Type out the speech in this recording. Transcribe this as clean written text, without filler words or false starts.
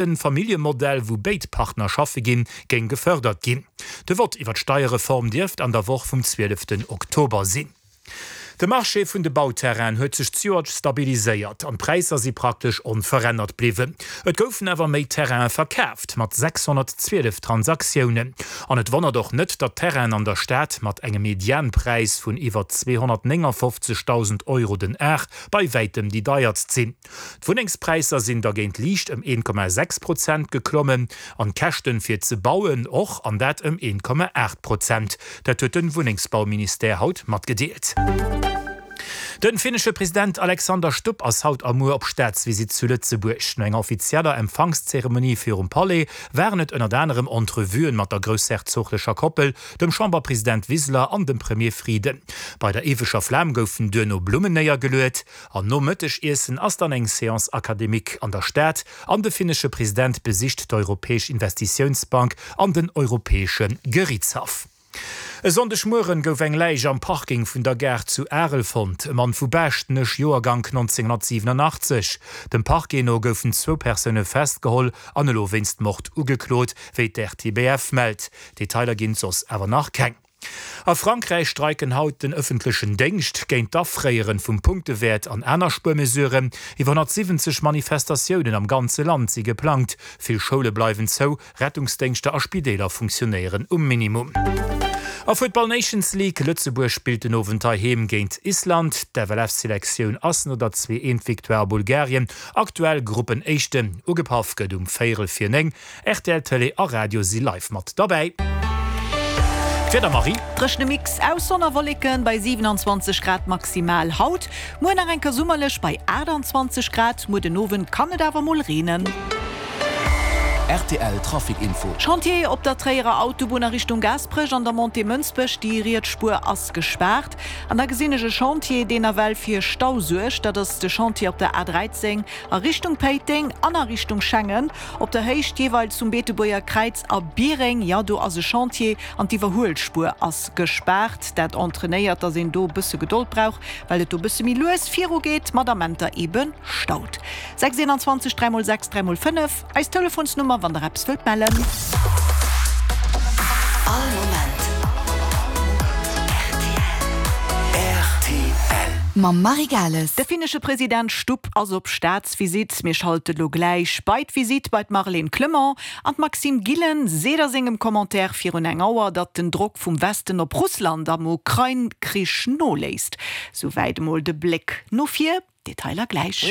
De Familljemodell, wou béid Partner schaffe ginn, géing gefërdert ginn. De Vott iwwer d'Steierreform dierft an der Woch vum 12 Oktober sinn. De Marché vun de Bauterrainen huet sech zejoert stabiliséiert an d'Präisser si praktesch onverännert bliwwen. Et goufen awer méi Terraine verkaaft, mat 612 Transaktiounen. An et wonnert och net, datt d'Terrainen an der Stad mat engem Medianpräis vun iwwer 259.000 Euro den Ar bei wäitem déi deiertst sinn. D'Wunnengspräisser sinn dergéint liicht ëm 1,6 Prozent geklommen an d'Käschten fir ze bauen och, an dat ëm 1,8 Prozent. Dat huet de Wunnengsbauministère haut matgedeelt. De finnesche President Alexander Stubb ass haut a muer op Staatsvisitt zu Lëtzebuerg. No enger offizieller Empfangszeremonie virum Palais waren et ënnert anerem Entrevuen mat der groussherzoglecher Koppel, dem Chamberpresident Wiseler an dem Premier Frieden. Bei der Éiweger Flam goufen duerno Blummen néiergeluet. An nom Mëttegiessen ass dann eng Séance académique an der Stad an de finnesche President besicht d'Europäesch Investitiounsbank an den Europäesche Gerichtshaff. E Sonndegmueren gouf eng Läich am Parking vun der Gare zu Arel fonnt. E Mann vu Baaschtnech, Joergank 1987. Dem Parquet no goufen zwou Persoune festgeholl an elo wéinst Mord ugeklot, wéi d'RTBF mellt. Detailer ginn et soss awer nach keng. A Frankräich streiken haut den ëffentlechen Déngscht géint d'Afréieren vum Punktewäert an aner Spuermesuren. Iwwer 170 Manifestatiounen am ganze Land si geplangt. Vill Schoule bleiwen zou, Rettungsdéngschter a Spideeler funktionéieren um Minimum. A Futtball Nations League, Lëtzebuerg spillt den Owend heiheem géint Island. D'FLF-Selektioun ass no der 2 Eent Victoire a Bulgarien aktuell Gruppenéischten. Ugepaff gëtt um véierel vir 9. Rtl Tëlee a Radio si live mat derbäi. D'Wieder, Marie. Dréchene Mix aus Sonn a Wolleken bei 27 Grad maximal haut, muer nach eng Kéier summerlech bei 28 Grad. Muer den Owend kann et awer mol reenen. Rtl Trafic Info. Chantier op der Tréierer Autobunn a Richtung Gaasperech an der Montée Mënsbech, déi riets Spuer ass gespaart. An da gesinn ech e Chantier, deen nawell fir Stau suergt, dat ass de Chantier op der A 13 a Richtung Péiteng an a Richtung Schengen. Op der Héicht jeeweils zum Beetebuerger Kräiz a Biereng, jo do ass e Chantier an d'Iwwerhuelspuer ass gespaart. Dat entrainéiert, dass een do e bësse Gedold brauch, well et do e bësse méi lues viru geet, mat Amenter ebe staut. 6 21 3 mol 6 3 mol 5, eis Telefonsnummer, wann der eppes wëllt mellen. All Moment rtl. Rtl. Mam Marie Gales. De finnesche President Stubb ass op Staatsvisitt. Mir schalte lo gläich bei d'Visitt bei d'Marlène Clement. An d'Maxime Gillen seet a sengem Commentaire virun eng Auer, datt den Drock vum Westen op Russland am Ukrain-Krich noléisst. Souwäit emol de Bléck no vir. Detailer gläich.